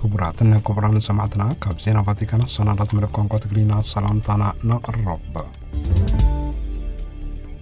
ክቡራትን ክቡራን ሰማዕትና፣ ካብ ዜና ቫቲካን ሰናዳት መደብ ቋንቋ ትግርኛ ሰላምታና ነቕርብ።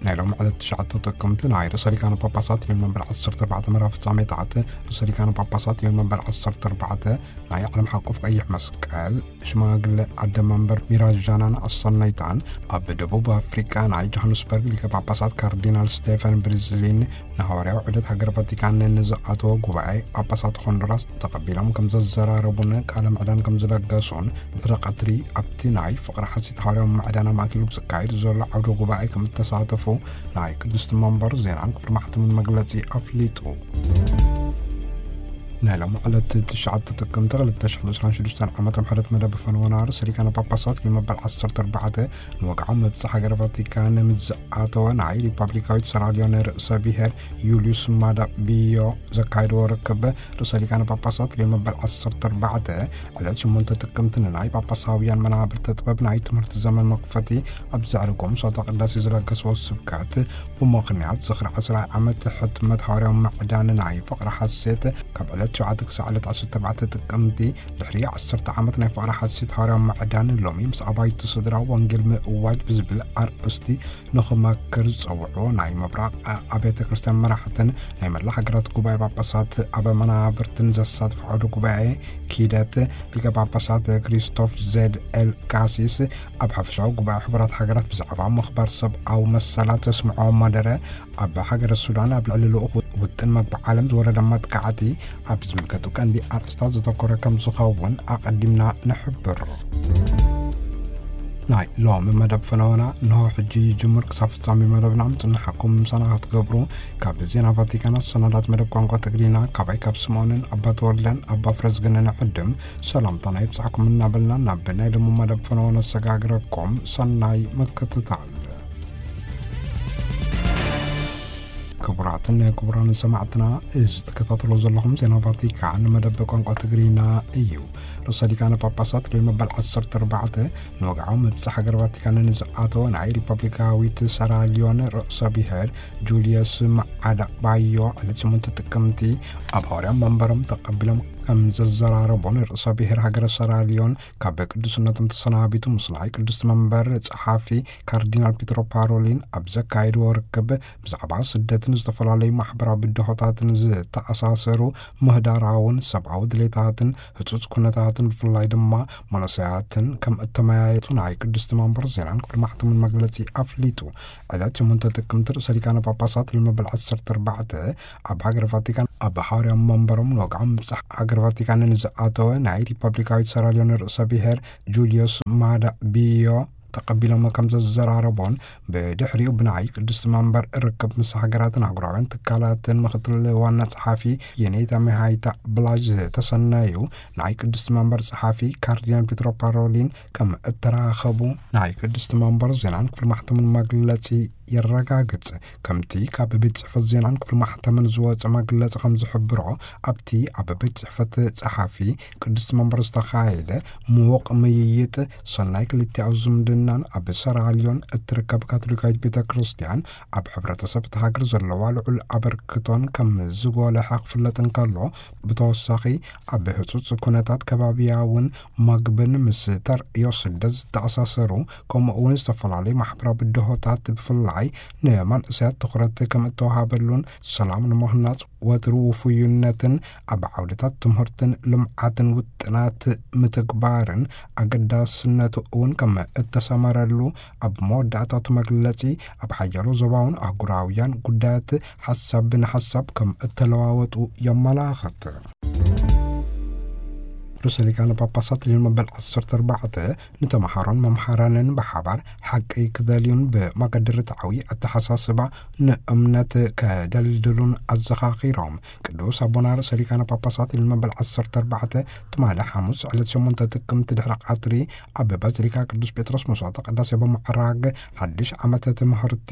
ናይ ሎም ዕለት ትሽዓተ ጥቅምቲ ናይ ርእሰ ሊቃነ ጳጳሳት ልዮን መበል ዓሰርተ ኣርባዕተ መርሃ ፍጻሜታት። ርእሰ ሊቃነ ጳጳሳት ልዮን መበል ዓሰርተ ኣርባዕተ ናይ ዓለም ሓቆፍ ቀይሕ መስቀል ሽማግለ ዓደ መንበር ሚራጃናን ኣሰነይታን ኣብ ደቡብ ኣፍሪቃ ናይ ጆሃንስበርግ ሊቀ ጳጳሳት ካርዲናል ስቴፈን ብሪዝሊን ንሃዋርያዊ ዑደት ሃገረ ቫቲካን ንዝኣተወ ጉባኤ ጳጳሳት ሆንዱራስ ተቐቢሎም ከም ዘዘራረቡን ቃለ ምዕዳን ከም ዝለገሱን ድሕሪ ቀትሪ ኣብቲ ናይ ፍቕሪ ሓሲት ሃዋርያዊ ምዕዳን ኣማእኪሉ ብዝካየድ ዘሎ ዓውደ ጉባኤ ከም እተሳተፉ ናይ ቅድስቲ መንበር ዜናን ክፍሊ ማሕተምን መግለጺ ኣፍሊጡ። ናይ ሎም ዕለት ትሽዓተ ጥቅምቲ ክልተ ሽሕን ዕስራን ሽዱሽተን ዓመተ ምሕረት መደብ ፈነወና ርእሰ ሊቃነ ጳጳሳት ልዮን መበል ዓሰርተ ኣርባዕተ ንወግዓዊ መብጽዓ ሃገረ ቫቲካን ምስ ዝኣተወ ናይ ሪፐብሊካዊት ሰራልዮን ርእሰ ብሔር ዩልዩስ ማዳ ቢዮ ዘካየድዎ ርክብ ርእሰ ሊቃነ ጳጳሳት ልዮን መበል ዓሰርተ ኣርባዕተ ዕለት ሸሞንተ ጥቅምቲ ንናይ ጳጳሳውያን መናብርተ ጥበብ ናይ ትምህርቲ ዘመን መኽፈቲ ኣብ ዘዕርጎም ሶታ ቅዳሴ ዝለገስዎ ስብከት ብምኽንያት ዝኽሪ ዕስራ ዓመት ሕትመት ሃዋርያዊ ምዕዳን ናይ ፍቕሪ ሓሴት ካብ ዕለት ሸውዓተ ክሳዕ ዕለት ዓሰርተ ኣርባዕተ ጥቅምቲ ድሕሪ ዓሰርተ ዓመት ናይ ፍቕሪ ሓሴት ሃዋርያዊ ምዕዳን ሎሚ ምስ ኣባይቲ ስድራ ወንጌል ምእዋጅ ብዝብል ኣርእስቲ ንኽመክር ዝጸውዑ ናይ ምብራቕ ኣብያተ ክርስቲያን መራሕትን ናይ መላ ሃገራት ጉባኤ ጳጳሳት ኣብ መናብርትን ዘሳትፍ ዓውደ ጉባኤ ኪደት ሊቀ ጳጳሳት ክሪስቶፍ ዜድ ኤል ካሲስ ኣብ ሓፈሻዊ ጉባኤ ሕቡራት ሃገራት ብዛዕባ ምኽባር ሰብኣዊ መሰላት ዘስምዖ መደረ ኣብ ሃገረ ሱዳን ኣብ ልዕሊ ልኡኽ ውጥን መግቢ ዓለም ዝወረደ መጥቃዕቲ ኣብ ዝምልከቱ ቀንዲ ኣርእስታት ዘተኮረ ከም ዝኸውን ኣቐዲምና ንሕብር። ናይ ሎም መደብ ፈነወና እንሆ ሕጂ ይጅምር። ክሳብ ፍጻሜ መደብና ምጽንሓኩም ምሳና ክትገብሩ ካብ ዜና ቫቲካን ሰናዳት መደብ ቋንቋ ትግርኛ ካባይ ካብ ስምኦንን ኣባ ተወልደን ኣባ ፍረዝግንን ዕድም ሰላምታና ይብጻሕኩም እናበልና ናብ ናይ ሎም መደብ ፈነወና ነሰጋግረኩም። ሰናይ ምክትታል። ክቡራትን ክቡራን ሰማዕትና፣ እዚ ትከታተሎ ዘለኹም ዜና ቫቲካን መደብ ቋንቋ ትግርኛ እዩ። ርእሰ ሊቃነ ጳጳሳት ልዮን መበል ዓሰርተ ኣርባዕተ ንወግዓዊ መብጽዓ ሃገር ቫቲካን ንዝኣተወ ናይ ሪፐብሊካዊት ሰራልዮን ርእሰ ብሔር ጁልየስ መዓዳ ባዮ ዕለት ሸሞንተ ጥቅምቲ ኣብ ሃዋርያ መንበሮም ተቐቢሎም ከም ዘዘራረቦን ርእሰ ብሔር ሃገረ ሰራልዮን ካብ ቅዱስነቶም ተሰናቢቱ ምስ ናይ ቅድስቲ መንበር ጸሓፊ ካርዲናል ፒትሮ ፓሮሊን ኣብ ዘካየድዎ ርክብ ብዛዕባ ስደትን ዝተፈላለዩ ማሕበራዊ ብድሆታትን ዝተኣሳሰሩ ምህዳራውን ሰብኣዊ ድሌታትን ህጹጽ ኩነታትን ብፍላይ ድማ መንእሰያትን ከም እተመያየጡ ናይ ቅድስቲ መንበር ዜናን ክፍሊ ማሕተምን መግለጺ ኣፍሊጡ። ዕለት ሸሞንተ ጥቅምቲ ርእሰ ሊቃነ ጳጳሳት ልዮን መበል ዓሰርተ ኣርባዕተ ኣብ ሃገረ ቫቲካን ኣብ ሃዋርያ መንበሮም ንወግዓዊ ምብጻሕ ሃገረ ቫቲካን ንዝኣተወ ናይ ሪፐብሊካዊት ሰራልዮን ርእሰ ብሔር ጁልዮስ ማዳ ቢዮ ተቐቢሎም ከም ዘዘራረቦን ብድሕሪኡ ብናይ ቅድስቲ መንበር ርክብ ምስ ሃገራትን ኣህጉራውያን ትካላትን ምክትል ዋና ጸሓፊ የኔታ ሚሃይታ ብላጅ ዝተሰነዩ ናይ ቅድስቲ መንበር ጸሓፊ ካርዲናል ፒትሮ ፓሮሊን ከም እተራኸቡ ናይ ቅድስቲ መንበር ዜናን ክፍሊ ማሕተምን መግለጺ የረጋግጽ። ከምቲ ካብ ቤት ጽሕፈት ዜናን ክፍሊ ማሕተምን ዝወጸ መግለጺ ከም ዝሕብሮ፣ ኣብቲ ኣብ ቤት ጽሕፈት ጸሓፊ ቅድስቲ መንበር ዝተኻየደ ምዉቕ ምይይጥ ሰናይ ክልቲኣዊ ዝምድናን ኣብ ሰራልዮን እትርከብ ካቶሊካዊት ቤተ ክርስቲያን ኣብ ሕብረተሰብ እታ ሃገር ዘለዋ ልዑል ኣበርክቶን ከም ዝጎለሐ ክፍለጥ እንከሎ፣ ብተወሳኺ ኣብ ህጹጽ ኩነታት ከባቢያውን መግብን ምስ ተርእዮ ስደት ዝተኣሳሰሩ ከምኡ እውን ዝተፈላለዩ ማሕበራዊ ብድሆታት ብፍላይ ንመንእሰያት ትኹረት ከም እተዋሃበሉን ሰላም ንምህናጽ ወትሩ ውፉይነትን ኣብ ዓውድታት ትምህርትን ልምዓትን ውጥናት ምትግባርን ኣገዳስነቱ እውን ከም እተሰመረሉ ኣብ መወዳእታቱ መግለጺ ኣብ ሓያሎ ዞባውን ኣህጉራውያን ጉዳያት ሓሳብ ብንሓሳብ ከም እተለዋወጡ የመላኽት። ርእሰ ሊቃነ ጳጳሳት ልዮን መበል ዓሰርተ ኣርባዕተ ንተምሃሮን መምሃራንን ብሓባር ሓቂ ክደልዩን ብመገዲ ርትዓዊ ኣተሓሳስባ ንእምነት ከደልድሉን ኣዘኻኺሮም። ቅዱስ ኣቦና ርእሰ ሊቃነ ጳጳሳት ልዮን መበል ዓሰርተ ኣርባዕተ ትማሊ ሓሙስ ዕለት ሸሞንተ ጥቅምቲ ድሕሪ ቀትሪ ኣብ ባዚሊካ ቅዱስ ጴጥሮስ መስዋዕተ ቅዳሴ ብምዕራግ ሓድሽ ዓመተ ትምህርቲ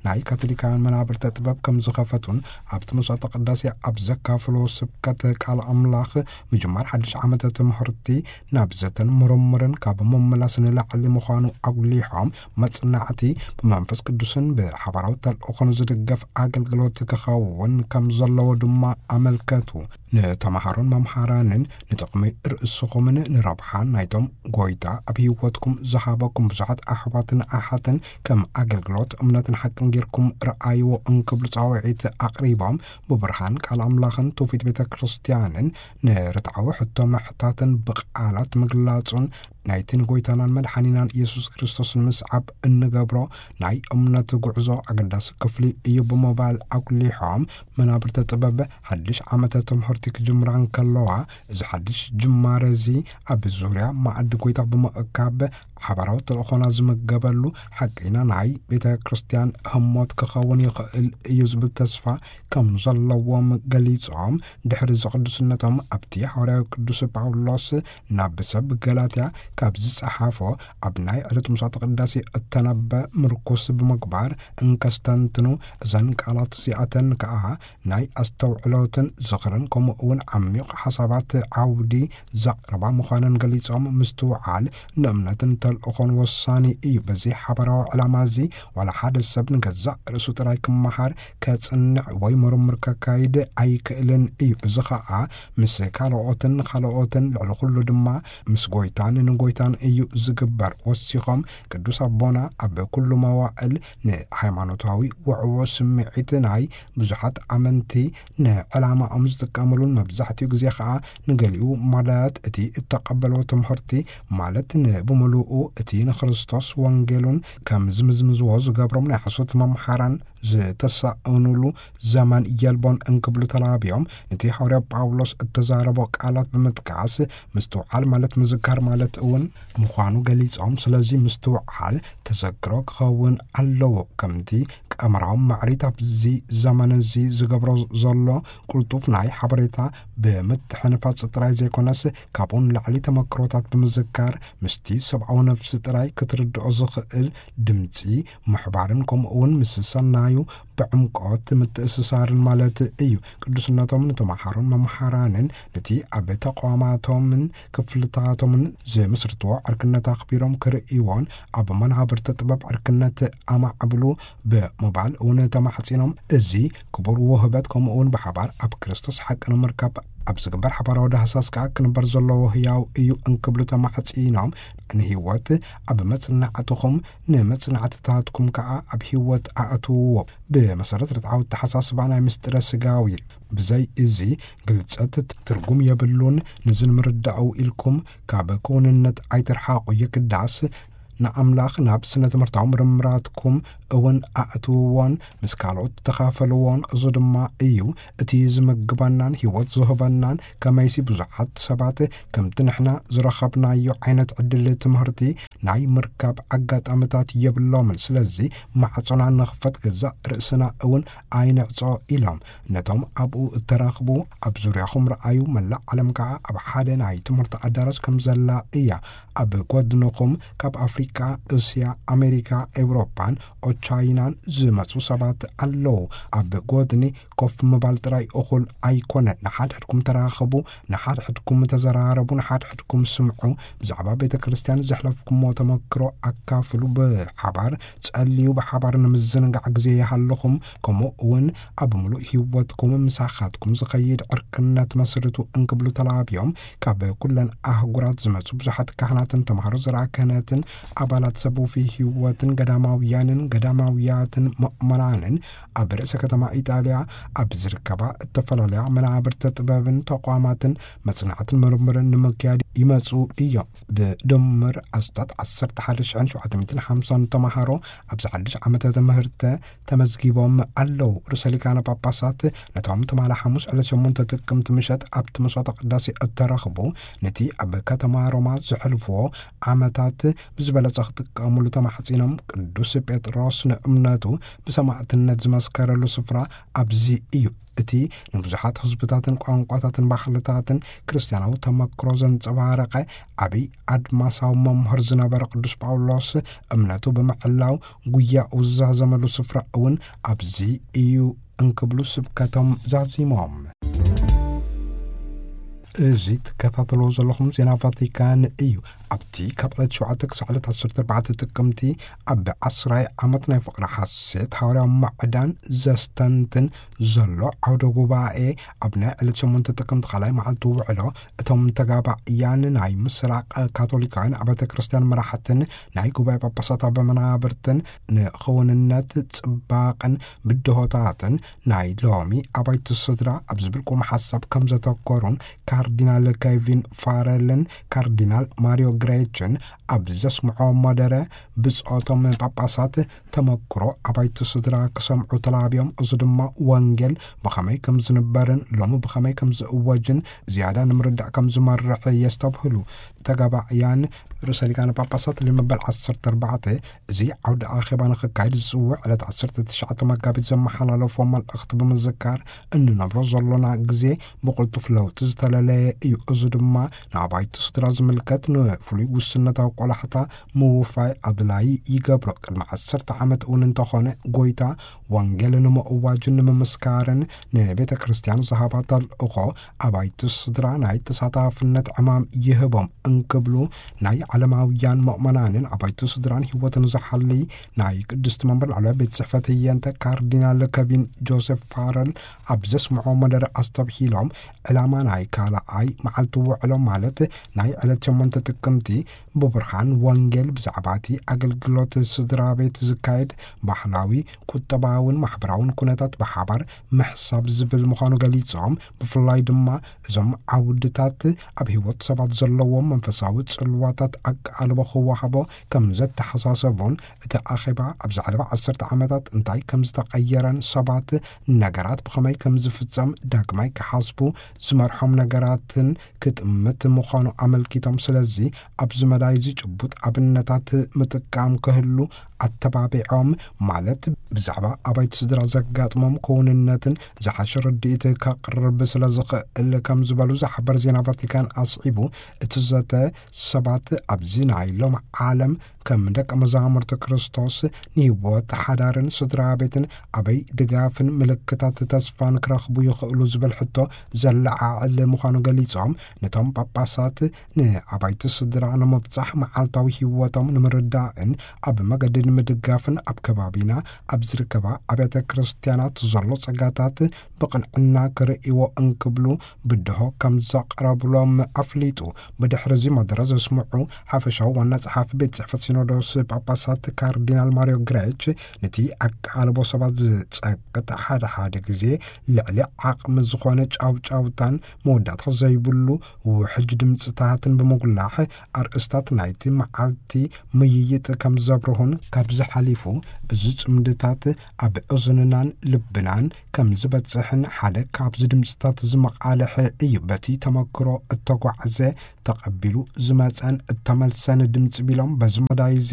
ናይ ካቶሊካውያን መናብርተ ጥበብ ከም ዝኸፈቱን ኣብቲ መስዋዕተ ቅዳሴ ኣብ ዘካፍሎ ስብከት ቃል ኣምላኽ ምጅማር ሓድሽ ዓመተ ትምህርቲ ናብ ዘተን ምርምርን ካብ ምምላስ ንላዕሊ ምዃኑ ኣጉሊሖም፣ መጽናዕቲ ብመንፈስ ቅዱስን ብሓባራዊ ተልእኾን ዝድገፍ ኣገልግሎት ክኸውን ከም ዘለዎ ድማ ኣመልከቱ። ንተምሃሮን መምሃራንን ንጥቕሚ ርእስኹምን ንረብሓ ናይቶም ጎይታ ኣብ ህይወትኩም ዝሃበኩም ብዙሓት ኣሕዋትን ኣሓትን ከም ኣገልግሎት እምነትን ሓቅን ጌርኩም ረኣይዎ እንክብሉ ጻውዒት ኣቕሪቦም፣ ብብርሃን ቃል ኣምላኽን ትውፊት ቤተ ክርስቲያንን ንርትዓዊ ሕቶ ምሕታትን ብቓላት ምግላጹን ናይቲ ንጎይታናን መድሓኒናን ኢየሱስ ክርስቶስ ንምስዓብ እንገብሮ ናይ እምነት ጉዕዞ ኣገዳሲ ክፍሊ እዩ ብምባል ኣጉሊሖም፣ መናብርተ ጥበብ ሓድሽ ዓመተ ትምህርቲ ክጅምራ እንከለዋ፣ እዚ ሓድሽ ጅማረ እዚ ኣብ ዙርያ መኣዲ ጎይታ ብምእካብ ሓባራዊ ተልእኾና ዝምገበሉ ሓቀይና ናይ ቤተ ክርስቲያን ህሞት ክኸውን ይኽእል እዩ ዝብል ተስፋ ከም ዘለዎም ገሊጾም፣ ድሕሪ እዚ ቅዱስነቶም ኣብቲ ሃዋርያዊ ቅዱስ ጳውሎስ ናብ ሰብ ገላትያ ካብ ዝጸሓፎ ኣብ ናይ ዕለት ምሳተ ቅዳሴ እተነበ ምርኩስ ብምግባር እንከስተንትኑ፣ እዘን ቃላት እዚኣተን ከኣ ናይ ኣስተውዕሎትን ዝኽርን ከምኡ እውን ዓሚቕ ሓሳባት ዓውዲ ዘቕርባ ምዃነን ገሊጾም፣ ምስትውዓል ንእምነትን ተልእኾን ወሳኒ እዩ። በዚ ሓባራዊ ዕላማ እዚ ዋላ ሓደ ሰብ ንገዛእ ርእሱ ጥራይ ክመሃር፣ ከጽንዕ ወይ ምርምር ከካይድ ኣይክእልን እዩ። እዚ ኸኣ ምስ ካልኦትን ንኻልኦትን ልዕሊ ኩሉ ድማ ምስ ጎይታን ንጎይታን እዩ ዝግበር። ወሲኾም ቅዱስ ኣቦና ኣብ ኩሉ መዋእል ንሃይማኖታዊ ውዕዎ ስምዒት ናይ ብዙሓት ኣመንቲ ንዕላማኦም ዝጥቀምሉን መብዛሕትኡ ግዜ ኸኣ ንገሊኡ ማለት እቲ እተቐበልዎ ትምህርቲ ማለት ንብምሉኡ እቲ ንክርስቶስ ወንጌሉን ከም ዝምዝምዝዎ ዝገብሮም ናይ ሓሶት መምሃራን ዝተሳእኑሉ ዘመን የልቦን እንክብሉ ተላብዮም፣ ነቲ ሃዋርያ ጳውሎስ እተዛረቦ ቃላት ብምጥቃስ ምስትውዓል ማለት ምዝካር ማለት እውን ምዃኑ ገሊጾም፣ ስለዚ ምስትውዓል ተዘክሮ ክኸውን ኣለዎ። ከምቲ ቀመራዊ ማዕሪት ኣብዚ ዘመን እዚ ዝገብሮ ዘሎ ቅልጡፍ ናይ ሓበሬታ ብምትሕንፋጽ ጥራይ ዘይኮነስ፣ ካብኡ ንላዕሊ ተመክሮታት ብምዝካር ምስቲ ሰብኣዊ ነፍሲ ጥራይ ክትርድኦ ዝኽእል ድምጺ ምሕባርን ከምኡ እውን ምስ ሰናዩ ብዕምቆት ምትእስሳርን ማለት እዩ። ቅዱስነቶም ንተምሃሮን መምሃራንን ነቲ ኣብ ተቋማቶምን ክፍልታቶምን ዝምስርትዎ ዕርክነት ኣኽቢሮም ክርእይዎን ኣብ መናብርቲ ጥበብ ዕርክነት ኣማዕብሉ ብምባል እውን ተማሕጺኖም። እዚ ክቡር ውህበት ከምኡ እውን ብሓባር ኣብ ክርስቶስ ሓቂ ንምርካብ ኣብ ዝግበር ሓባራዊ ዳህሳስ ከኣ ክንበር ዘለዎ ህያው እዩ እንክብሉ ተማሕጺኖም። ንህይወት ኣብ መጽናዕትኹም ንመጽናዕትታትኩም ከኣ ኣብ ህይወት ኣእትውዎ። ብመሰረት ርትዓዊ ኣተሓሳስባ ናይ ምስጢረ ስጋዊ ብዘይ እዚ ግልጸት ትርጉም የብሉን። ንዚ ንምርዳኡ ኢልኩም ካብ ክውንነት ኣይትርሓቑ። የግዳስ ንኣምላኽ ናብ ስነ ትምህርታዊ ምርምራትኩም እውን ኣእትውዎን ምስ ካልኦት ተኻፈልዎን። እዚ ድማ እዩ እቲ ዝምግበናን ህይወት ዝህበናን። ከመይሲ ብዙሓት ሰባት ከምቲ ንሕና ዝረኸብናዮ ዓይነት ዕድል ትምህርቲ ናይ ምርካብ ኣጋጣምታት የብሎምን። ስለዚ ማዕጾና ንኽፈት፣ ገዛእ ርእስና እውን ኣይንዕጾ ኢሎም። ነቶም ኣብኡ እተራኽቡ ኣብ ዙርያኹም ረኣዩ። መላእ ዓለም ከኣ ኣብ ሓደ ናይ ትምህርቲ ኣዳራሽ ከም ዘላ እያ። ኣብ ጎድንኹም ካብ ኣፍሪቃ፣ እስያ፣ ኣሜሪካ፣ ኤውሮጳን ኦቻይናን ዝመጹ ሰባት ኣለዉ። ኣብ ጎድኒ ኮፍ ምባል ጥራይ እኹል ኣይኮነን። ንሓድሕድኩም ተራኸቡ፣ ንሓድሕድኩም ተዘራረቡ፣ ንሓድሕድኩም ስምዑ። ብዛዕባ ቤተ ክርስቲያን ዘሕለፍኩሞ ተመክሮ ኣካፍሉ። ብሓባር ጸልዩ፣ ብሓባር ንምዝንጋዕ ግዜ ይሃልኹም። ከምኡ እውን ኣብ ምሉእ ህይወትኩም ምሳኻትኩም ዝኸይድ ዕርክነት መስርቱ እንክብሉ ተላብዮም። ካብ ኩለን ኣህጉራት ዝመጹ ብዙሓት ካህናትን ተምሃሮ ዘርኣ ክህነትን ኣባላት ሰብ ውፉይ ህይወትን ገዳማውያንን ገዳማውያትን ምእመናንን ኣብ ርእሰ ከተማ ኢጣልያ ኣብ ዝርከባ እተፈላለያ መናብርተ ጥበብን ተቋማትን መጽናዕትን ምርምርን ንምክያድ ይመጹ እዮም። ብድምር ኣስታት ዓሰርተ ሓደ ሽሕን ሸውዓተ ሚእትን ሓምሳን ተምሃሮ ኣብዚ ሓድሽ ዓመተ ትምህርተ ተመዝጊቦም ኣለዉ። ርእሰ ሊቃነ ጳጳሳት ነቶም ትማሊ ሓሙስ ዕለት ሸሞንተ ጥቅምቲ ምሸት ኣብቲ መስዋዕተ ቅዳሴ እተረኽቡ፣ ነቲ ኣብ ከተማ ሮማ ዘሕልፍዎ ዓመታት ብዝበለጸ ክጥቀሙሉ ተማሕጺኖም። ቅዱስ ጴጥሮስ ንእምነቱ ብሰማዕትነት ዝመስከረሉ ስፍራ ኣብዚ እዩ። እቲ ንብዙሓት ህዝብታትን ቋንቋታትን ባህልታትን ክርስትያናዊ ተመክሮ ዘንጸባረቐ ዓብዪ ኣድማሳዊ መምህር ዝነበረ ቅዱስ ጳውሎስ እምነቱ ብምሕላው ጉያኡ ዝዛዘመሉ ስፍራ እውን ኣብዚ እዩ እንክብሉ ስብከቶም ዛዚሞም። እዚ ትከታተልዎ ዘለኹም ዜና ቫቲካን እዩ። ኣብቲ ካብ ዕለት ሸውዓተ ክሳዕ ዕለት ዓሰርተ ኣርባዕተ ጥቅምቲ ኣብ ዓስራይ ዓመት ናይ ፍቕሪ ሓሴት ሃዋርያዊ ማዕዳን ዘስተንትን ዘሎ ዓውደ ጉባኤ፣ ኣብ ናይ ዕለት ሸሞንተ ጥቅምቲ ካልኣይ መዓልቲ ውዕሎ፣ እቶም ተጋባእያን ናይ ምስራቕ ካቶሊካውያን ኣብያተ ክርስቲያን መራሕትን ናይ ጉባኤ ጳጳሳት ኣበ መናብርትን ንኽውንነት ጽባቕን ብድሆታትን ናይ ሎሚ ኣባይቲ ስድራ ኣብ ዝብል ቁም ሓሳብ ከም ዘተኮሩን ካርዲናል ኬቪን ፋረልን ካርዲናል ማሪዮ ግሬችን ኣብ ዘስምዖ መደረ፣ ብጾቶም ጳጳሳት ተመክሮ ኣባይቲ ስድራ ክሰምዑ ተላብዮም፣ እዚ ድማ ወንጌል ብኸመይ ከም ዝንበርን ሎሚ ብኸመይ ከም ዝእወጅን ዝያዳ ንምርዳእ ከም ዝመርሕ የስተብህሉ። ተጋባእያን ርእሰ ሊቃነ ጳጳሳት ልዮ መበል ዓሰርተ ኣርባዕተ እዚ ዓውደ ኣኼባ ንኽካየድ ዝጽውዕ ዕለት ዓሰርተ ትሽዓተ መጋቢት ዘመሓላለፎ መልእኽቲ ብምዝካር፣ እንነብሮ ዘሎና ግዜ ብቕልጡፍ ለውጢ ዝተለለየ እዩ። እዚ ድማ ንኣባይቲ ስድራ ዝምልከት ንፍሉይ ውስነታዊ ቆላሕታ ምውፋይ ኣድላዪ ይገብሮ። ቅድሚ ዓሰርተ ዓመት እውን እንተኾነ፣ ጎይታ ወንጌል ንምእዋጅን ንምምስካርን ንቤተ ክርስቲያን ዝሃባ ተልእኾ ኣባይቲ ስድራ ናይ ተሳታፍነት ዕማም ይህቦም እንክብሉ፣ ናይ ዓለማውያን ምእመናንን ኣባይቲ ስድራን ህይወትን ዝሓልይ ናይ ቅድስቲ መንበር ላዕለዋይ ቤት ጽሕፈት ህየንተ ካርዲናል ኬቪን ጆሴፍ ፋረል ኣብ ዘስምዖ መደረ ኣስተብሂሎም፣ ዕላማ ናይ ካልኣይ መዓልቲ ውዕሎ፣ ማለት ናይ ዕለት ሸሞንተ ጥቅምቲ፣ ብብርሃን ወንጌል ብዛዕባ እቲ ኣገልግሎት ስድራ ቤት ዝካየድ ባህላዊ፣ ቁጠባውን ማሕበራውን ኩነታት ብሓባር ምሕሳብ ዝብል ምዃኑ ገሊጾም፣ ብፍላይ ድማ እዞም ዓውድታት ኣብ ህይወት ሰባት ዘለዎም መንፈሳዊ ጽልዋታት ኣቃልቦ ክወሃቦ ከም ዘተሓሳሰቡን፣ እቲ ኣኼባ ኣብ ዝሓለፈ ዓሰርተ ዓመታት እንታይ ከም ዝተቐየረን ሰባት ነገራት ብኸመይ ከም ዝፍጸም ዳግማይ ክሓስቡ ዝመርሖም ነገራትን ክጥምት ምዃኑ ኣመልኪቶም፣ ስለዚ ኣብዚ መዳይ እዚ ጭቡጥ ኣብነታት ምጥቃም ክህሉ ኣተባቢዖም፣ ማለት ብዛዕባ ኣባይቲ ስድራ ዘጋጥሞም ክውንነትን ዝሓሸ ርድኢት ከቕርብ ስለ ዝኽእል ከም ዝበሉ ዝሓበር ዜና ቫቲካን ኣስዒቡ፣ እቲ ዘተ ሰባት ኣብዚ ናይ ሎም ዓለም ከም ደቀ መዛሙርቲ ክርስቶስ ንህይወት ሓዳርን ስድራ ቤትን ኣበይ ድጋፍን ምልክታት ተስፋን ክረኽቡ ይኽእሉ ዝብል ሕቶ ዘለዓዕል ምዃኑ ገሊጾም፣ ነቶም ጳጳሳት ንኣባይቲ ስድራ ንምብጻሕ መዓልታዊ ህይወቶም ንምርዳእን ኣብ መገዲ ንምድጋፍን ኣብ ከባቢና ኣብ ዝርከባ ኣብያተ ክርስቲያናት ዘሎ ጸጋታት ብቕንዕና ክርእይዎ እንክብሉ ብድሆ ከም ዘቕረብሎም ኣፍሊጡ። ብድሕሪ እዚ መደረ ዘስምዑ ሓፈሻዊ ዋና ጸሓፊ ቤት ጽሕፈት ሲኖዶስ ጳጳሳት ካርዲናል ማሪዮ ግሬች፣ ነቲ ኣቃልቦ ሰባት ዝጸቅጥ ሓደ ሓደ ግዜ ልዕሊ ዓቕሚ ዝኾነ ጫውጫውታን መወዳእታ ዘይብሉ ውሕጅ ድምፅታትን ብምጉላሕ፣ ኣርእስታት ናይቲ መዓልቲ ምይይጥ ከም ዘብርሁን፣ ካብዚ ሓሊፉ እዚ ጽምድታት ኣብ እዝንናን ልብናን ከም ዝበጽሕን ሓደ ካብዚ ድምፅታት እዚ መቓልሕ እዩ። በቲ ተመክሮ እተጓዕዘ፣ ተቐቢሉ ዝመጸን እተመልሰን ድምፂ ቢሎም፣ በዚ መዳይ እዚ፣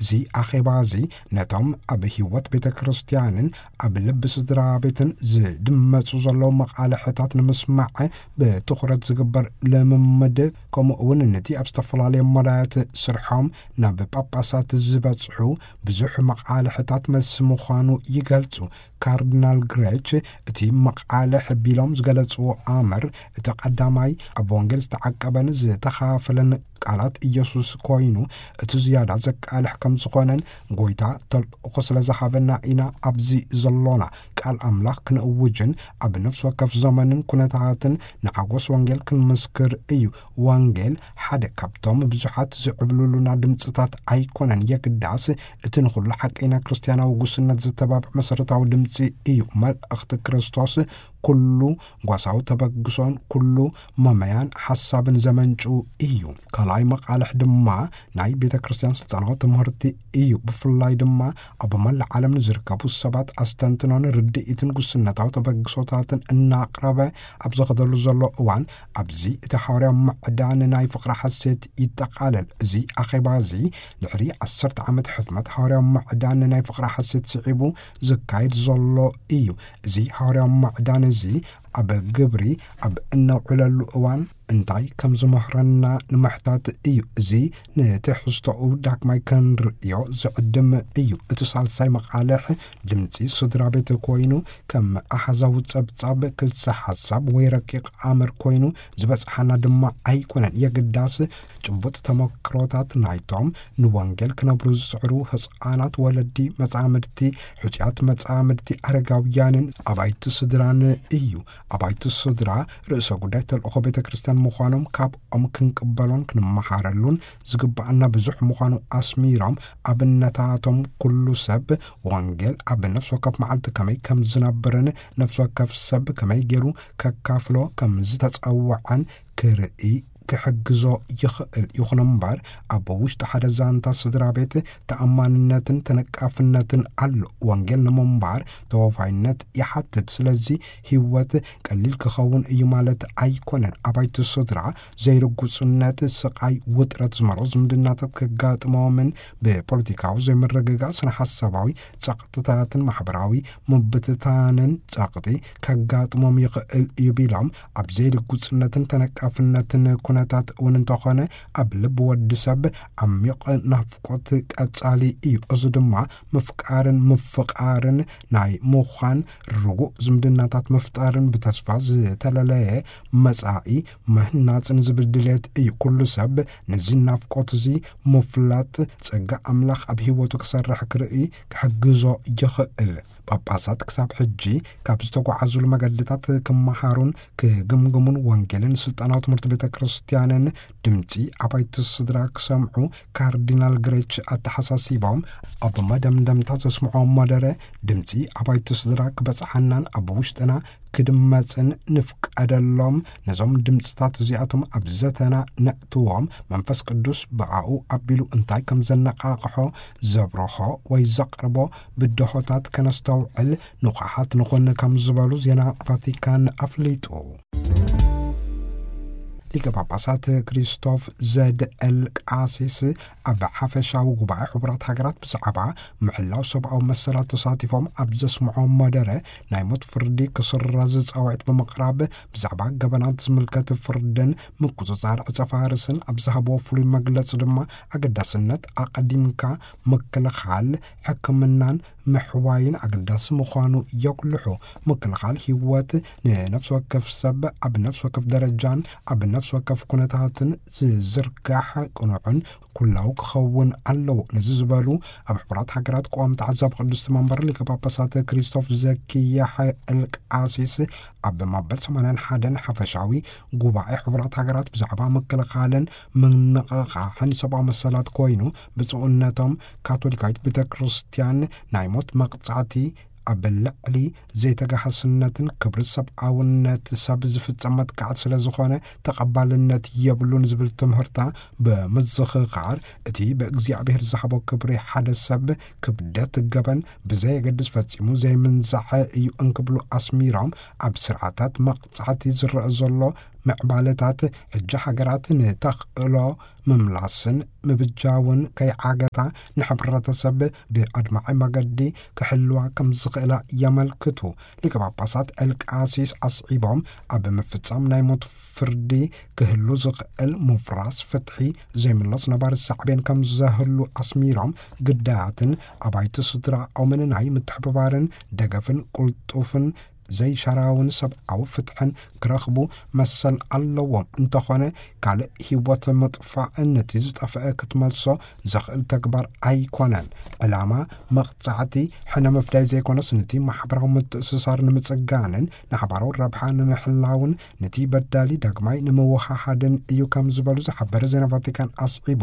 እዚ ኣኼባ እዚ ነቶም ኣብ ህይወት ቤተ ክርስቲያንን ኣብ ልቢ ስድራ ቤትን ዝድመጹ ዘለዉ መቓልሕታት ንምስማዕ ብትኹረት ዝግበር ልምምድ፣ ከምኡ እውን ነቲ ኣብ ዝተፈላለየ መዳያት ስርሖም ናብ ጳጳሳት ዝበጽሑ ብዙሕ መቓልሕታት መልሲ ምዃኑ ይገልጹ። ካርዲናል ግሬች እቲ መቓልሕ ቢሎም ዝገለጽዎ ኣምር፣ እቲ ቀዳማይ ኣብ ወንጌል ዝተዓቀበን ዝተኻፈለን ቃላት ኢየሱስ ኮይኑ፣ እቲ ዝያዳ ዘቃልሕ ከም ዝኾነን፣ ጎይታ ተልእኾ ስለ ዝሃበና ኢና ኣብዚ ዘሎና፣ ቃል ኣምላኽ ክንእውጅን ኣብ ነፍሲ ወከፍ ዘመንን ኩነታትን ንሓጎስ ወንጌል ክንምስክር እዩ። ወንጌል ሓደ ካብቶም ብዙሓት ዝዕብልሉና ድምፅታት ኣይኮነን፣ የግዳስ እቲ ንኹሉ ሓቀይና ክርስትያናዊ ጉስነት ዘተባብዕ መሰረታዊ ድምፂ እዩ። መልእኽቲ ክርስቶስ ኩሉ ጓሳዊ ተበግሶን ኩሉ መመያን ሓሳብን ዘመንጩ እዩ። ካልኣይ መቓልሕ ድማ ናይ ቤተ ክርስቲያን ስልጣናዊ ትምህርቲ እዩ። ብፍላይ ድማ ኣብ መላእ ዓለም ንዝርከቡ ሰባት ኣስተንትኖን ርድኢትን ጉስነታዊ ተበግሶታትን እናቕረበ ኣብ ዝኸደሉ ዘሎ እዋን፣ ኣብዚ እቲ ሓዋርያዊ ምዕዳን ናይ ፍቕሪ ሓሴት ይጠቓለል። እዚ ኣኼባ እዚ ድሕሪ ዓሰርተ ዓመት ሕትመት ሓዋርያዊ ምዕዳን ናይ ፍቕሪ ሓሴት ስዒቡ ዝካየድ ዘሎ እዩ። እዚ ሓዋርያዊ ምዕዳን እዚ ኣብ ግብሪ ኣብ እነውዕለሉ እዋን፣ እንታይ ከም ዝምህረና ንምሕታት እዩ። እዚ ንትሕዝቶኡ ዳግማይ ክንርእዮ ዝዕድም እዩ። እቲ ሳልሳይ መቓልሕ ድምፂ ስድራ ቤት ኮይኑ፣ ከም ኣሃዛዊ ጸብጻብ፣ ክልሰ ሓሳብ ወይ ረቂቕ ኣምር ኮይኑ ዝበጽሓና ድማ ኣይኮነን። የግዳስ ጭቡጥ ተመክሮታት ናይቶም ንወንጌል ክነብሩ ዝጽዕሩ ህጻናት፣ ወለዲ፣ መጻምድቲ፣ ሕጹያት መጻምድቲ፣ ኣረጋውያንን ኣባይቲ ስድራን እዩ። ኣባይቲ ስድራ ርእሰ ጉዳይ ተልእኾ ቤተ ክርስቲያን ምዃኖም ካብኦም ክንቅበሎን ክንመሃረሉን ዝግባኣና ብዙሕ ምዃኑ ኣስሚሮም፣ ኣብነታቶም ኩሉ ሰብ ወንጌል ኣብ ነፍሲ ወከፍ መዓልቲ ከመይ ከም ዝነብርን ነፍሲ ወከፍ ሰብ ከመይ ገይሩ ከካፍሎ ከም ዝተጸውዐን ክርኢ ክሕግዞ ይኽእል። ይኹን እምበር፣ ኣብ ውሽጢ ሓደ ዛንታ ስድራ ቤት ተኣማንነትን ተነቃፍነትን ኣሎ። ወንጌል ንምንባር ተወፋይነት ይሓትት። ስለዚ ህይወት ቀሊል ክኸውን እዩ ማለት ኣይኮነን። ኣባይቲ ስድራ ዘይርጉጽነት፣ ስቓይ፣ ውጥረት ዝመልኦ ዝምድናታት ከጋጥሞምን ብፖለቲካዊ ዘይምርግጋእ፣ ስነ ሓሳባዊ ጸቕጥታትን ማሕበራዊ ምብትታንን ጸቕጢ ከጋጥሞም ይኽእል እዩ ቢሎም፣ ኣብ ዘይርጉጽነትን ተነቃፍነትን ኩነታት እውን እንተኾነ፣ ኣብ ልቢ ወዲ ሰብ ዓሚቕ ናፍቆት ቀጻሊ እዩ። እዚ ድማ ምፍቃርን ምፍቓርን ናይ ምዃን ርጉእ ዝምድናታት ምፍጣርን ብተስፋ ዝተለለየ መጻኢ ምህናጽን ዝብል ድሌት እዩ። ኩሉ ሰብ ነዚ ናፍቆት እዚ ምፍላጥ ጸጋ ኣምላኽ ኣብ ህይወቱ ክሰርሕ ክርኢ ክሕግዞ ይኽእል። ጳጳሳት ክሳብ ሕጂ ካብ ዝተጓዓዙሉ መገድታት ክመሃሩን ክግምግሙን ወንጌልን ስልጣናዊ ትምህርቲ ቤተ ክርስቲያንን ድምፂ ኣባይቲ ስድራ ክሰምዑ ካርዲናል ግሬች ኣተሓሳሲቦም፣ ኣብ መደምደምታ ዘስምዖ መደረ ድምፂ ኣባይቲ ስድራ ክበፅሓናን ኣብ ውሽጥና ክድመፅን ንፍቀደሎም። ነዞም ድምፅታት እዚኣቶም ኣብ ዘተና ነእትዎም፣ መንፈስ ቅዱስ ብኣኡ ኣቢሉ እንታይ ከም ዘነቓቕሖ፣ ዘብርሆ ወይ ዘቕርቦ ብድሆታት ከነስተውዕል ንቑሓት ንኹን ከም ዝበሉ ዜና ቫቲካን ኣፍሊጡ። ሊቀ ጳጳሳት ክሪስቶፍ ዘድኤል ቃሲስ ኣብ ሓፈሻዊ ጉባኤ ሕቡራት ሃገራት ብዛዕባ ምሕላው ሰብኣዊ መሰላት ተሳቲፎም ኣብ ዘስምዖ መደረ፣ ናይ ሞት ፍርዲ ክስረዝ ጻውዒት ብምቕራብ፣ ብዛዕባ ገበናት ዝምልከት ፍርድን ምቁጽጻር ዕጸ ፋርስን ኣብ ዝሃብዎ ፍሉይ መግለጺ ድማ፣ ኣገዳስነት ኣቐዲምካ ምክልኻል፣ ሕክምናን ምሕዋይን ኣገዳሲ ምዃኑ የጉልሑ። ምክልኻል ህይወት ንነፍሲ ወከፍ ሰብ ኣብ ነፍሲ ወከፍ ደረጃን ኣብ ነፍሲ ወከፍ ኩነታትን ዝዝርጋሕ ቅኑዕን ኩላዊ ክኸውን ኣለዎ። ነዚ ዝበሉ ኣብ ሕቡራት ሃገራት ቀዋሚ ተዓዛቢ ቅድስቲ መንበር ሊቀ ጳጳሳት ክሪስቶፍ ዘኪያሕ ኤልቃሲስ ኣብ መበል ሰማንያን ሓደን ሓፈሻዊ ጉባኤ ሕቡራት ሃገራት ብዛዕባ ምክልኻልን ምንቕቓሕን ሰብኣዊ መሰላት ኮይኑ፣ ብፁዕነቶም ካቶሊካዊት ቤተ ክርስቲያን ናይ ሞት መቕጻዕቲ ኣብ ልዕሊ ዘይተጋሃስነትን ክብሪ ሰብኣውነት ሰብ ዝፍጸም መጥቃዕቲ ስለ ዝኾነ ተቐባልነት የብሉን ዝብል ትምህርታ ብምዝኽኻር፣ እቲ ብእግዚኣብሔር ዝሃቦ ክብሪ ሓደ ሰብ ክብደት ገበን ብዘየገድስ ፈጺሙ ዘይምንዛዐ እዩ እንክብሉ ኣስሚሮም፣ ኣብ ስርዓታት መቕጻዕቲ ዝረአ ዘሎ ምዕባለታት፣ ሕጂ ሃገራት ንተኽእሎ ምምላስን ምብጃውን ከይዓገታ ንሕብረተሰብ ብኣድማዒ መገዲ ክሕልዋ ከም ዝኽእላ የመልክቱ። ሊቀ ጳጳሳት ኤልቃሲስ ኣስዒቦም፣ ኣብ ምፍጻም ናይ ሞት ፍርዲ ክህሉ ዝኽእል ምፍራስ ፍትሒ፣ ዘይምለስ ነባሪ ሳዕቤን ከም ዘህሉ ኣስሚሮም፣ ግዳያትን ኣባይቲ ስድራኦምን ናይ ምትሕብባርን ደገፍን ቅልጡፍን ዘይሻራውን ሰብኣዊ ፍትሕን ክረኽቡ መሰል ኣለዎም። እንተኾነ፣ ካልእ ህይወት ምጥፋእ ነቲ ዝጠፍአ ክትመልሶ ዘኽእል ተግባር ኣይኮነን። ዕላማ መቕጻዕቲ ሕነ ምፍዳይ ዘይኮነስ፣ ነቲ ማሕበራዊ ምትእስሳር ንምጽጋንን ንሓባራዊ ረብሓ ንምሕላውን፣ ነቲ በዳሊ ዳግማይ ንምውሃሃድን እዩ ከም ዝበሉ ዝሓበረ ዜና ቫቲካን ኣስዒቡ፣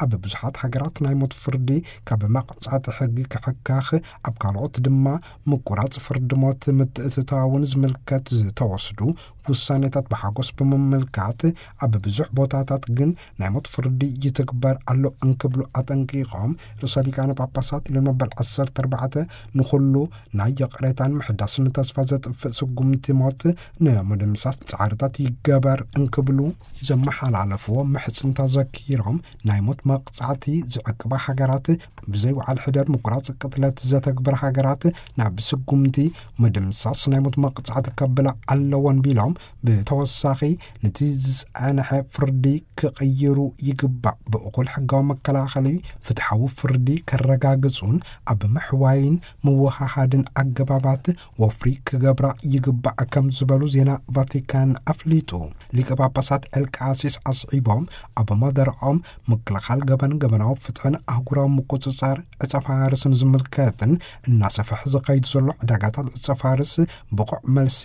ኣብ ብዙሓት ሃገራት ናይ ሞት ፍርዲ ካብ መቕጻዕቲ ሕጊ ክሕካኽ፣ ኣብ ካልኦት ድማ ምቁራጽ ፍርዲ ሞት ምትእትታውን ዝምልከት ዝተወስዱ ውሳኔታት ብሓጎስ ብምምልካት፣ ኣብ ብዙሕ ቦታታት ግን ናይ ሞት ፍርዲ ይትግበር ኣሎ እንክብሉ ኣጠንቂቖም፣ ርእሰ ሊቃነ ጳጳሳት ሊዮን መበል ዓሰርተ ኣርባዕተ ንኹሉ ናይ ይቕሬታን ምሕዳስን ተስፋ ዘጥፍእ ስጉምቲ ሞት ንምድምሳስ ጻዕርታት ይገበር እንክብሉ ዘመሓላለፍዎ ምሕጽንታ ዘኪሮም፣ ናይ ሞት መቕጻዕቲ ዝዕቅባ ሃገራት፣ ብዘይ ወዓል ሕደር ምቁራጽ ቅትለት ዘተግብር ሃገራት ናብ ስጉምቲ ምድምሳስ ናይ ሞት መቕጻዕቲ ከብላ ኣለወን ቢሎም፣ ብተወሳኺ፣ ነቲ ዝጸንሐ ፍርዲ ክቕይሩ ይግባእ። ብእኹል ሕጋዊ መከላኸሊ ፍትሓዊ ፍርዲ ከረጋግጹን ኣብ ምሕዋይን ምውሃሃድን ኣገባባት ወፍሪ ክገብራ ይግባእ ከም ዝበሉ ዜና ቫቲካን ኣፍሊጡ። ሊቀ ጳጳሳት ኤልቃሲስ ኣስዒቦም ኣብ መደረኦም፣ ምክልኻል ገበን፣ ገበናዊ ፍትሕን ኣህጉራዊ ምቁጽጻር ዕጸ ፋርስን ዝምልከትን እናሰፍሐ ዝኸይድ ዘሎ ዕዳጋታት ዕጸ ፋርስ ብቑዕ መልሲ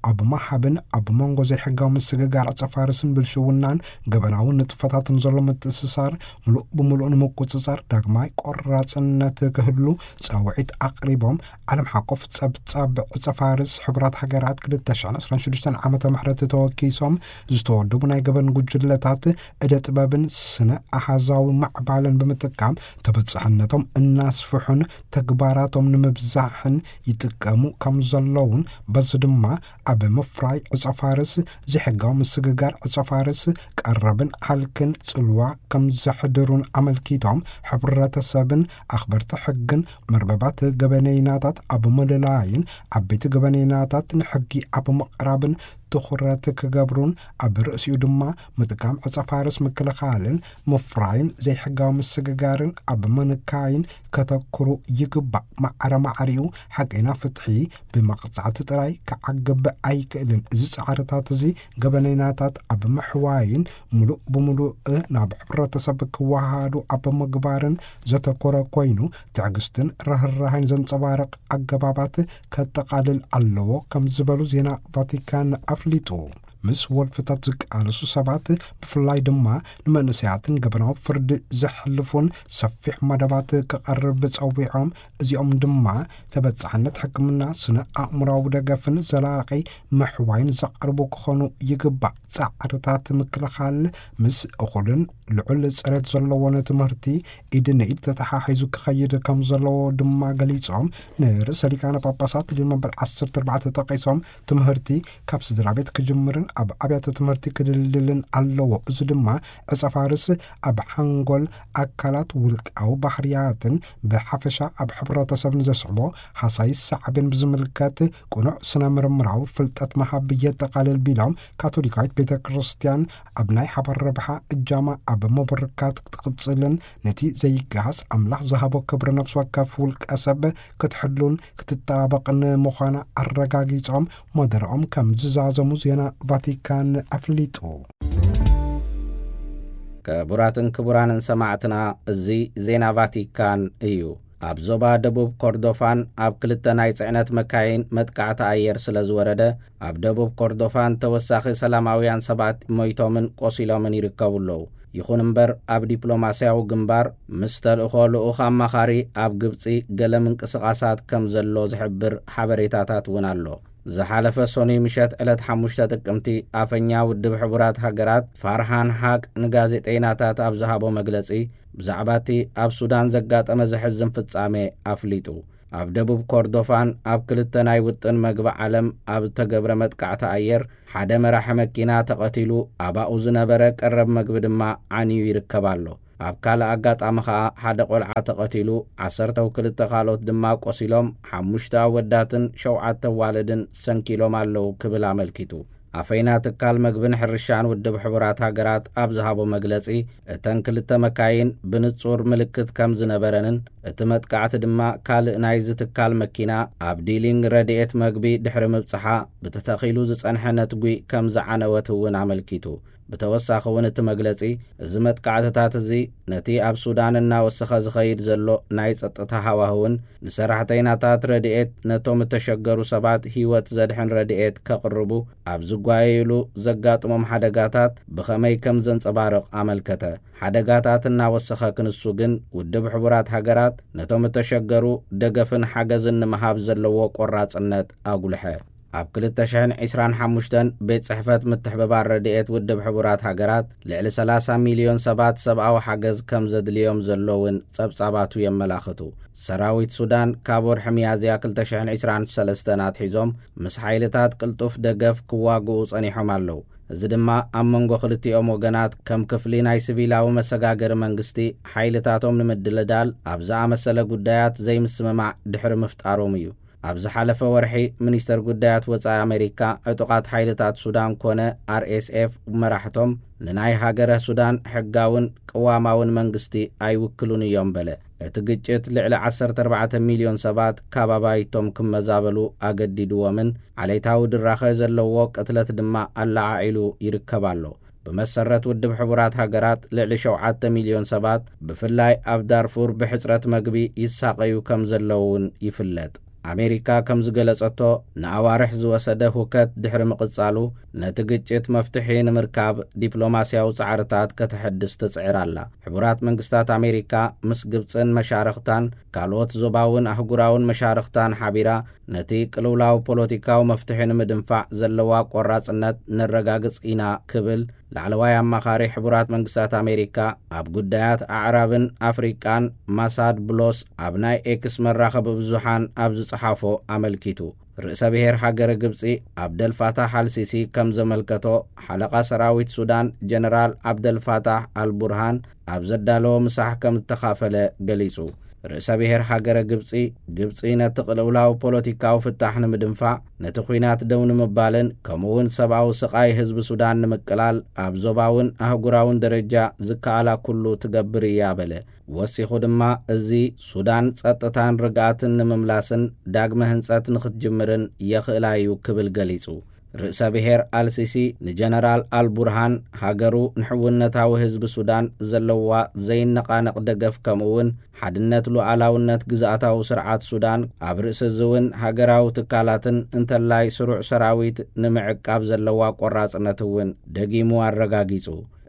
ኣብ ምሃብን ኣብ መንጎ ዘይሕጋዊ ምስግጋር ዕጸ ፋርስን ብልሽውናን ገበናዊ ንጥፈታትን ዘሎ ምትእስሳር ምሉእ ብምሉእ ንምቁጽጻር ዳግማይ ቆራጽነት ክህሉ ጻውዒት ኣቕሪቦም። ዓለም ሓቆፍ ጸብጻብ ዕጸ ፋርስ ሕቡራት ሃገራት ክልተ ሽሕን ዕስራን ሽዱሽተን ዓመተ ምሕረት ተወኪሶም ዝተወደቡ ናይ ገበን ጉጅለታት እደ ጥበብን ስነ ኣሃዛዊ ማዕባልን ብምጥቃም ተበጻሕነቶም እናስፍሑን ተግባራቶም ንምብዛሕን ይጥቀሙ ከም ዘለውን፣ በዚ ድማ ኣብ ምፍራይ ዕጸ ፋርስ፣ ዘይሕጋዊ ምስግጋር ዕጸ ፋርስ፣ ቀረብን ሃልክን ጽልዋ ከም ዘሕድሩን ኣመልኪቶም፣ ሕብረተሰብን ኣኽበርቲ ሕግን መርበባት ገበነይናታት ኣብ ምልላይን ዓበይቲ ገበነይናታት ንሕጊ ኣብ ምቕራብን ትኹረት ክገብሩን፣ ኣብ ርእሲኡ ድማ ምጥቃም ዕጸ ፋርስ ምክልኻልን ምፍራይን ዘይሕጋዊ ምስግጋርን ኣብ ምንካይን ከተኩሩ ይግባእ። ማዕረ ማዕሪኡ ሓቀይና ፍትሒ ብመቕጻዕቲ ጥራይ ክዓግብ ኣይክእልን። እዚ ጻዕርታት እዚ ገበነይናታት ኣብ ምሕዋይን ምሉእ ብምሉእ ናብ ሕብረተሰብ ክወሃሃዱ ኣብ ምግባርን ዘተኮረ ኮይኑ፣ ትዕግስትን ርህራሄን ዘንጸባርቕ ኣገባባት ከጠቓልል ኣለዎ ከም ዝበሉ ዜና ቫቲካን ኣፍሊጡ። ምስ ወልፍታት ዝቃለሱ ሰባት፣ ብፍላይ ድማ ንመንእሰያትን ገበናዊ ፍርዲ ዘሕልፉን ሰፊሕ መደባት ክቐርብ ጸዊዖም። እዚኦም ድማ ተበጻሕነት ሕክምና፣ ስነ ኣእምራዊ ደገፍን ዘላቒ ምሕዋይን ዘቕርቡ ክኾኑ ይግባእ። ጻዕርታት ምክልኻል ምስ እኹልን ልዑል ጽሬት ዘለዎን ትምህርቲ ኢድ ንኢድ ተተሓሒዙ ክኸይድ ከም ዘለዎ ድማ ገሊጾም፣ ንርእሰ ሊቃነ ጳጳሳት ሊዮን መበል ዓሰርተ ኣርባዕተ ጠቒሶም፣ ትምህርቲ ካብ ስድራ ቤት ክጅምርን ኣብ ኣብያተ ትምህርቲ ክድልድልን ኣለዎ። እዚ ድማ ዕጸ ፋርስ ኣብ ሓንጎል፣ ኣካላት፣ ውልቃዊ ባህርያትን ብሓፈሻ ኣብ ሕብረተሰብን ዘስዕቦ ሃሳይ ሳዕቤን ብዝምልከት ቅኑዕ ስነ ምርምራዊ ፍልጠት ምሃብ የጠቓልል ቢሎም፣ ካቶሊካዊት ቤተ ክርስቲያን ኣብ ናይ ሓባር ረብሓ እጃማ ኣብ ምብርካት ክትቕጽልን ነቲ ዘይገሃስ ኣምላኽ ዝሃቦ ክብሪ ነፍሲ ወከፍ ውልቀ ሰብ ክትሕሉን ክትጠባበቕን ምዃና ኣረጋጊጾም፣ መደረኦም ከም ዝዛዘሙ ዜና ቫቲካን ኣፍሊጡ። ክቡራትን ክቡራንን ሰማዕትና፣ እዚ ዜና ቫቲካን እዩ። ኣብ ዞባ ደቡብ ኮርዶፋን ኣብ ክልተ ናይ ጽዕነት መካይን መጥቃዕቲ ኣየር ስለ ዝወረደ፣ ኣብ ደቡብ ኮርዶፋን ተወሳኺ ሰላማውያን ሰባት ሞይቶምን ቆሲሎምን ይርከቡ ኣለዉ። ይኹን እምበር፣ ኣብ ዲፕሎማስያዊ ግንባር ምስ ተልእኾ ልኡኽ ኣማኻሪ ኣብ ግብጺ ገለ ምንቅስቓሳት ከም ዘሎ ዝሕብር ሓበሬታታት እውን ኣሎ። ዝሓለፈ ሰኑይ ምሸት ዕለት ሓሙሽተ ጥቅምቲ፣ ኣፈኛ ውድብ ሕቡራት ሃገራት ፋርሃን ሃቅ ንጋዜጠይናታት ኣብ ዝሃቦ መግለጺ፣ ብዛዕባ እቲ ኣብ ሱዳን ዘጋጠመ ዘሕዝን ፍጻሜ ኣፍሊጡ። ኣብ ደቡብ ኮርዶፋን ኣብ ክልተ ናይ ውጥን መግቢ ዓለም ኣብ እተገብረ መጥቃዕቲ ኣየር፣ ሓደ መራሒ መኪና ተቐቲሉ፣ ኣባኡ ዝነበረ ቀረብ መግቢ ድማ ዓንዩ ይርከብ ኣሎ። ኣብ ካልእ ኣጋጣሚ ኸኣ፣ ሓደ ቆልዓ ተቐቲሉ፣ ዓሰርተው ክልተ ካልኦት ድማ ቆሲሎም፣ ሓሙሽተ ኣወዳትን ሸውዓተ ኣዋልድን ሰንኪሎም ኣለዉ ክብል ኣመልኪቱ። ኣፈይና ትካል መግብን ሕርሻን ውድብ ሕቡራት ሃገራት ኣብ ዝሃቦ መግለጺ፣ እተን ክልተ መካይን ብንጹር ምልክት ከም ዝነበረንን፣ እቲ መጥቃዕቲ ድማ ካልእ ናይዚ ትካል መኪና ኣብ ዲሊንግ ረድኤት መግቢ ድሕሪ ምብጽሓ ብተተኺሉ ዝጸንሐ ነትጒ ከም ዝዓነወት እውን ኣመልኪቱ። ብተወሳኺ እውን እቲ መግለጺ፣ እዚ መጥቃዕትታት እዚ ነቲ ኣብ ሱዳን እናወሰኸ ዝኸይድ ዘሎ ናይ ጸጥታ ሃዋህውን ንሰራሕተይናታት ረድኤት ነቶም እተሸገሩ ሰባት ህይወት ዘድሕን ረድኤት ከቕርቡ ኣብ ዝጓየዩሉ ዘጋጥሞም ሓደጋታት ብኸመይ ከም ዘንጸባርቕ ኣመልከተ። ሓደጋታት እናወሰኸ ክንሱ ግን፣ ውድብ ሕቡራት ሃገራት ነቶም እተሸገሩ ደገፍን ሓገዝን ንምሃብ ዘለዎ ቆራጽነት ኣጉልሐ። ኣብ ክልተ ሽሕን ዕስራን ሓሙሽተን ቤት ጽሕፈት ምትሕብባር ረድኤት ውድብ ሕቡራት ሃገራት፣ ልዕሊ ሰላሳ ሚልዮን ሰባት ሰብኣዊ ሓገዝ ከም ዘድልዮም ዘሎ እውን ጸብጻባቱ የመላኽቱ። ሰራዊት ሱዳን ካብ ወርሒ ሚያዝያ ክልተ ሽሕን ዕስራን ሰለስተን ኣትሒዞም ምስ ሓይልታት ቅልጡፍ ደገፍ ክዋግኡ ጸኒሖም ኣለዉ። እዚ ድማ ኣብ መንጎ ክልቲኦም ወገናት ከም ክፍሊ ናይ ሲቪላዊ መሰጋገሪ መንግስቲ ሓይልታቶም ንምድልዳል ኣብ ዝኣመሰለ ጉዳያት ዘይምስምማዕ ድሕሪ ምፍጣሮም እዩ። ኣብ ዝሓለፈ ወርሒ፣ ሚኒስተር ጉዳያት ወጻኢ ኣሜሪካ፣ ዕጡቓት ሓይልታት ሱዳን ኮነ ኣር ኤስ ኤፍ መራሕቶም ንናይ ሃገረ ሱዳን ሕጋውን ቅዋማውን መንግስቲ ኣይውክሉን እዮም በለ። እቲ ግጭት ልዕሊ ዓሰርተ ኣርባዕተ ሚልዮን ሰባት ካብ ኣባይቶም ክመዛበሉ ኣገዲድዎምን ዓሌታዊ ድራኸ ዘለዎ ቅትለት ድማ ኣለዓዒሉ ይርከብ ኣሎ። ብመሰረት ውድብ ሕቡራት ሃገራት፣ ልዕሊ ሸውዓተ ሚልዮን ሰባት ብፍላይ ኣብ ዳርፉር ብሕጽረት መግቢ ይሳቐዩ ከም ዘለዉ እውን ይፍለጥ። ኣሜሪካ ከም ዝገለጸቶ፣ ንኣዋርሕ ዝወሰደ ሁከት ድሕሪ ምቕጻሉ፣ ነቲ ግጭት መፍትሒ ንምርካብ ዲፕሎማስያዊ ጻዕርታት ከተሐድስ ትጽዕር ኣላ። ሕቡራት መንግስታት ኣሜሪካ ምስ ግብጽን መሻርኽታን ካልኦት ዞባውን ኣህጉራውን መሻርኽታን ሓቢራ፣ ነቲ ቅልውላው ፖለቲካዊ መፍትሒ ንምድንፋዕ ዘለዋ ቆራጽነት ነረጋግጽ ኢና ክብል ላዕለዋይ ኣማኻሪ ሕቡራት መንግስታት ኣሜሪካ ኣብ ጉዳያት ኣዕራብን ኣፍሪቃን ማሳድ ብሎስ ኣብ ናይ ኤክስ መራኸቢ ብዙሓን ኣብ ዝጸሓፎ ኣመልኪቱ። ርእሰ ብሔር ሃገረ ግብጺ ኣብደልፋታሕ ኣልሲሲ ከም ዘመልከቶ፣ ሓለቓ ሰራዊት ሱዳን ጀነራል ኣብደልፋታሕ ኣልቡርሃን ኣብ ዘዳለዎ ምሳሕ ከም ዝተኻፈለ ገሊጹ። ርእሰ ብሔር ሃገረ ግብጺ፣ ግብጺ ነቲ ቅልውላው ፖለቲካዊ ፍታሕ ንምድንፋዕ፣ ነቲ ኲናት ደው ንምባልን ከምኡውን ሰብኣዊ ስቓይ ህዝቢ ሱዳን ንምቅላል ኣብ ዞባውን ኣህጉራውን ደረጃ ዝከኣላ ኩሉ ትገብር እያ በለ። ወሲኹ ድማ፣ እዚ ሱዳን ጸጥታን ርግኣትን ንምምላስን ዳግመ ህንጸት ንኽትጅምርን የኽእላ እዩ ክብል ገሊጹ። ርእሰ ብሔር ኣልሲሲ ንጀነራል ኣልቡርሃን፣ ሃገሩ ንሕውነታዊ ህዝቢ ሱዳን ዘለዋ ዘይነቓነቕ ደገፍ፣ ከምኡውን ሓድነት ሉዓላውነት ግዝኣታዊ ስርዓት ሱዳን፣ ኣብ ርእሲ እዚ እውን ሃገራዊ ትካላትን እንተላይ ስሩዕ ሰራዊት ንምዕቃብ ዘለዋ ቆራጽነት እውን ደጊሙ ኣረጋጊጹ።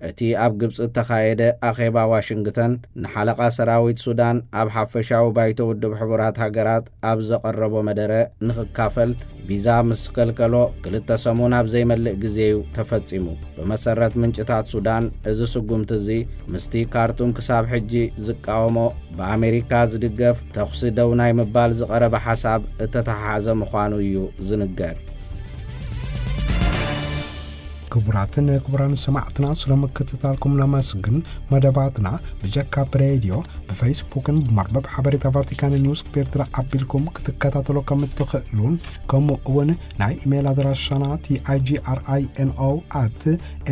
እቲ ኣብ ግብጺ እተኻየደ ኣኼባ ዋሽንግተን፣ ንሓለቓ ሰራዊት ሱዳን ኣብ ሓፈሻዊ ባይቶ ውድብ ሕቡራት ሃገራት ኣብ ዘቐረቦ መደረ ንኽካፈል ቪዛ ምስ ከልከሎ፣ ክልተ ሰሙን ኣብ ዘይመልእ ግዜ እዩ ተፈጺሙ። ብመሰረት ምንጭታት ሱዳን፣ እዚ ስጉምቲ እዚ ምስቲ ካርቱም ክሳብ ሕጂ ዝቃወሞ፣ ብኣሜሪካ ዝድገፍ ተኹሲ ደው ናይ ምባል ዝቐረበ ሓሳብ እተተሓሓዘ ምዃኑ እዩ ዝንገር። ክቡራትን ክቡራን ሰማዕትና፣ ስለ ምክትታልኩም ነመስግን። መደባትና ብጀካ ብሬድዮ፣ ብፌስቡክን ብመርበብ ሓበሬታ ቫቲካን ኒውስ ክፌርትራ ኣቢልኩም ክትከታተሎ ከም እትኽእሉን፣ ከምኡ እውን ናይ ኢሜይል ኣድራሻና ቲ ኣይ ጂ ኣር ኣይ ኤን ኦ ኣት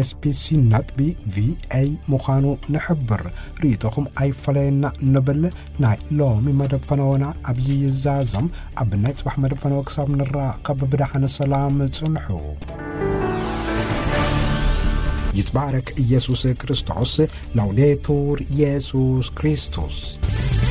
ኤስ ቢ ሲ ነጥቢ ቪ ኤ ምዃኑ ንሕብር። ርእይቶኹም ኣይፈለየና ንብል። ናይ ሎሚ መደብ ፈነወና ኣብዚ ይዛዘም። ኣብ ናይ ጽባሕ መደብ ፈነወ ክሳብ ንራኸብ ብደሓን ሰላም ጽንሑ። ይትባረክ ኢየሱስ ክርስቶስ። ላውዴቱር ኢየሱስ ክርስቶስ።